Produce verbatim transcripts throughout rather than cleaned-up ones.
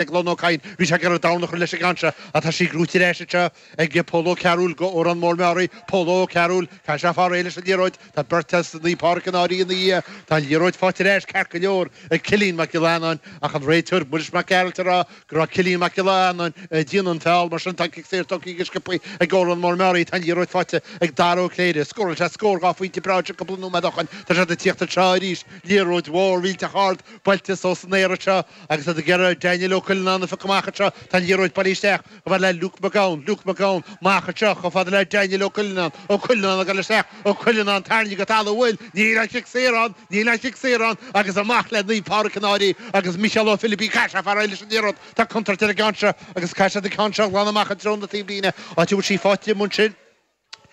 Declan Ó Cadhain, bhí sé ag iarraidh dorn a chur leis an gceann seo ach tá sí gnóite ar ais anseo ag Pól Ó Cearúil go Órán Mór Meáraí. Pól Ó Cearúil, caithfidh sé fáil réidh leis an liathróid. Tá beirt as Naomh Pádraig an Fhairche ina dhiaidh. Tá an liathróid faighte ar ais ceart go leor ag Cillian Mac Giolla Eanáin ach an réiteoir Muiris Mac Gearailt ag rá go raibh Cillian Mac Giolla Eanáin ag déanamh an feall. Mar sin tá an cic saor tugtha go sciobtha ag Órán Mór Meáraí. Tá an liathróid faighte ag Dara Ó Cléire. Scóráil sé scór dhá phointe breá anseo cúpla nóiméad ó shin. Tá siad ag tíocht anseo arís. Liathróid mhór mhillteach ard buailte suas san aer anseo agus iad ag iarraidh Daniel Ó Cuilleanáin a phiocadh amach anseo. Tá an liathróid bailithe isteach chomh fada le Luke McGowan, Luke McGowan, amach anseo chomh fada le Daniel Ó Cuilleanáin, Ó Cuilleanáin ag dul isteach, Ó Cuilleanáin tarraingthe go talamh, bhuel, níl an chic saor ann, níl an chic saor ann agus amach le Naomh Pádraig an Fhairche agus Micheál Ó Philibín, caithfidh sé fáil réidh leis an liathróid. Tá contúirt ar an gceann seo agus caithfidh siad an ceann seo a ghlanadh amach i dtreo na taobhlíne, áit a bhfuil sí faighte amuigh ansin.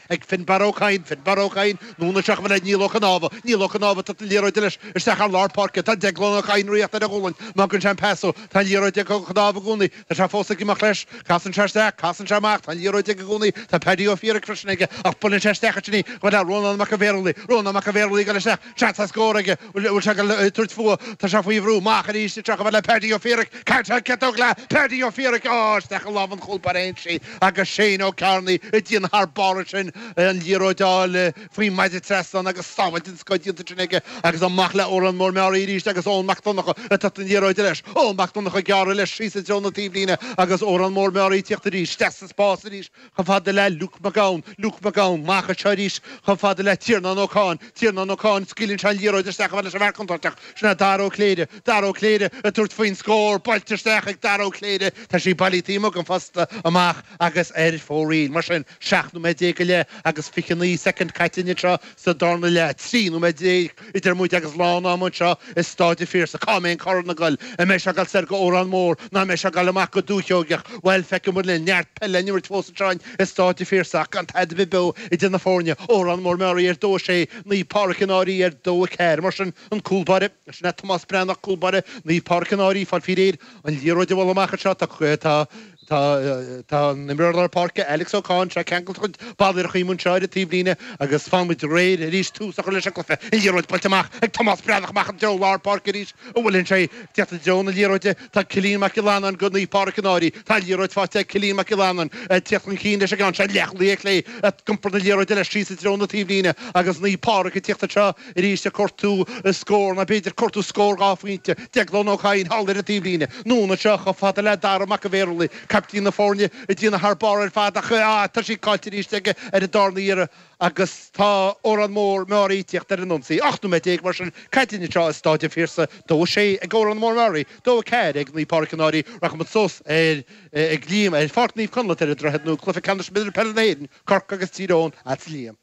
ag Finbarr Ó Cadhain, Finbarr Ó Cadhain, anonn anseo chomh fada le Niall Ó Cnámha, Niall Ó Cnámha, tá an liathróid leis isteach ar lár páirce, tá Declan Ó Cadhain ag rith ar a ghualainn, má fhágann sé an pas ó, tá an liathróid ag Ó Cnámha i gcónaí, tá sé fós ag imeacht leis, casann sé isteach, casann sé amach, tá an liathróid aige i gcónaí, tá Paddy Ó Fiaraic freisin aige, ach buaileann sé isteach ansin í, chomh fada le Rónán Mac an Bhéarlaí, Rónán Mac an Bhéarlaí ag dul isteach, seans ar scór aige, bhfuil sé ag dul tabhairt fúthu, tá sé faoi bhrú, amach arís anseo chomh fada le Paddy Ó Fiaraic, caithfidh sé an ciotóg le Paddy Ó Fiaraic, á, isteach i lámh an chúl báire a théann sí. Agus Shane Ó Cearnaigh ag déanamh thar barr ansin, an liathróid a fháil faoin maide trasnáin agus sábháil den scoth déanta ansin aige agus amach le Órán Mór Meáraí arís agus Eoin Mac Donncha ag tabhairt an liathróid leis. Eoin Mac Donncha ag gearradh leis síos i dtreo na taobhlíne agus Órán Mór Meáraí ag tíocht arís isteach sa spás arís chomh fada le Luke McGowan. Luke McGowan amach anseo arís chomh fada le Tiarnán Ó Cadhain. Tiarnán Ó Cadhain, scaoileann sé an liathróid isteach chomh fada leis an bhfear contúirteach. Sin é Dara Ó Cléire. Dara Ó Cléire ag tabhairt faoin scór. Buailte isteach ag Dara Ó Cléire. Tá sí bailithe taobh amuigh den phosta amach agus ar fóraoil. Mar sin, seacht nóiméad déag go leith agus fiche naoi soicind caite anseo sa darna leath. Trí nóiméad déag idir muid agus lán ama anseo i Stáid an Phiarsaigh. Cá mbeidh an corn ag dul? An mbeidh sé ag dul soir go Órán Mór nó an mbeidh sé ag dul amach go Dúiche Sheoigeach? Bhuel, feicfidh muid linn. Neart peile in imirt fós anseo i Stáid an Phiarsaigh ach gan tada ar bith beo idir na foirne. Órán Mór Meáraí ar dó a sé, Naomh Pádraig an Fhairche ar dó a ceathair. Mar sin, an cúl báire, sin é Tomás Breathnach, cúl báire Naomh Pádraig an Fhairche, fáil faoi réir an liathróid a bhualadh amach anseo. Tá, tá, tá an imreoir lár páirce, Alex Ó Cadhain, sé ceangailte chuid balla ar a chaoi anseo ar an taobhlíne agus fanfaidh muid réidh arís tús a chur leis an gcluiche. An liathróid buailte amach ag Tomás Breathnach amach i dtreo lár páirce arís. An bhfuil sé ag teacht i dtreo na liathróide? Tá Cillian Mac Giolla Eanáin go Naomh Pádraig an Fhairche. Tá an liathróid faighte ag Cillian Mac Giolla Eanáin ag teacht chun cinn leis an gceann seo. Leathchúlaí ar chlé ag iompar na liathróide leis síos i dtreo na taobhlíne agus Naomh Pádraig ag teacht anseo arís ag cuartú scór nó b'fhéidir cuartú scór dhá phointe. Deaglán Ó Cadhain thall ar an taobhlíne. Anonn anseo chomh fada le Dara Mac an Bhéarlaí, caiptín na foirne, ag déanamh thar barr ar fad ach tá sí caillte arís aige ar an darna iarraidh agus tá Órán Mór Meáraí ag tíocht ar an ionsaí. Ocht nóiméad déag mar sin caite anseo i Stáid an Phiarsaigh. Dó a sé ag Órán Mór Meáraí, dó a ceathair ag Naomh Pádraig an Fhairche. Rachaidh muid suas ar ag Liam ar Pháirc Naomh Conleth ar an Droichead Nua, Cluiche Ceannais Mionúir Peile na hÉireann, Corcaigh agus Tír Eoghain, agatsa Liam.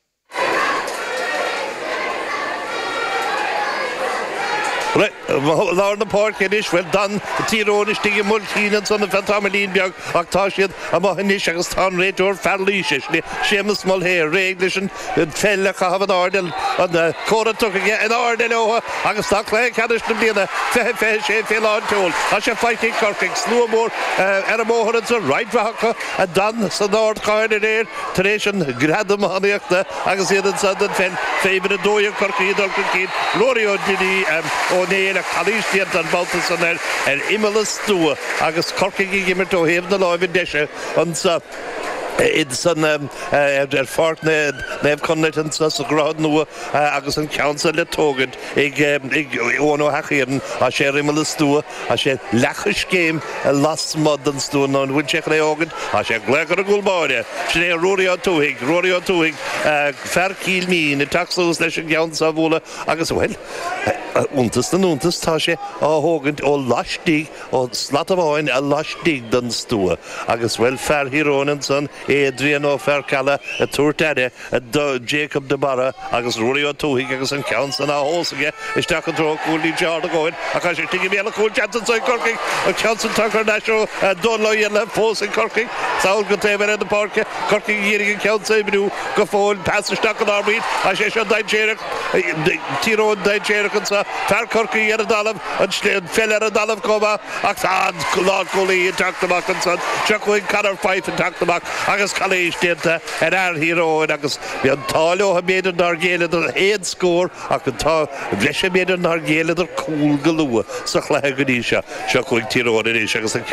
Lár na páirce anois, bhuel, d'fhan Tír Eoghain istigh i mBuailtín ansan ar feadh tamaillín beag ach tá siad amuigh anois agus tá an réiteoir fear Laoise, sin é Séamus Mulhare, réidh leis an pheil a chaitheamh in airde, an comhartha tugtha aige in airde leo agus tá cluiche ceannais na bliana fiche fiche sé fé lán tseoil. Tá sé faighte ag Corcaigh, slua mór ar an mbóthar ansan, roinnt mhaith acu a d'fhan san ardchathair aréir tar éis an ghradam iománaíochta agus iad ansan don pheil fé uimhir a dó dhéag Corcaigh ag dul chun cinn, Rory Ó Duinní Ó Néill ach calaois déanta an babhta san air ar imeall an stua agus Corcaigh ag imirt ó thaobh na láimhe deise anso san ar Pháirc Naomh Conleth anso sa Dhroichead Nua agus an ceann san le tógaint ag Eoin Ó hEachthiarn. Tá sé ar imeall an stua, tá sé leathchoiscéim lasmuigh den stua nó an bhfuil sé chun é a thógaint? Tá sé ag glaoch ar an gcúl báire. Sin é Ruairí Ó Tuathaigh, Ruairí Ó Tuathaigh, fear Chill Mhín, ag teacht suas leis an gceann so a bhualadh agus, bhuel, iontas na n-iontas, tá sé á thógaint ó laistigh, ó slat amháin laistigh den stua agus, bhuel, fear Thír Eoghain ansan, Adrian Ó Fearcheallaigh ag tabhairt aire do Jacob de Barra agus Ruairí Ó Tuathaigh agus an ceann san á thomhas aige isteach i dtreo an chúil. Níl sé ard a dhóthain ach tá sé istigh i mbéal an chúil. Seans anso ag Corcaigh. An ceann san tagtha thar n-ais ó Dónal Ó Éanlaithe fós ag Corcaigh. Sall go taobh eile na páirce. Corcaigh ag iarraidh an ceann san a oibriú go fóill. Pas isteach i lár baill. Tá sé seo dainséarach. Tír Eoghain dainséarach anso. Fear Chorcaí ar an dtalamh. An pheil ar an dtalamh chomh maith ach tá an lánchúlaí ag teacht amach ansan. Seo chugainn Conor Fyfe ag teacht amach agus calaois déanta ar fhear Thír Eoghain agus bhí an t-ádh leo b'fhéidir nár ghéilleadar an chéad scór ach an t-ádh bhreise b'fhéidir nár ghéilleadar cúl go luath sa chluiche go dtí seo seo chugainn Tír Eoghain anois agus an ceann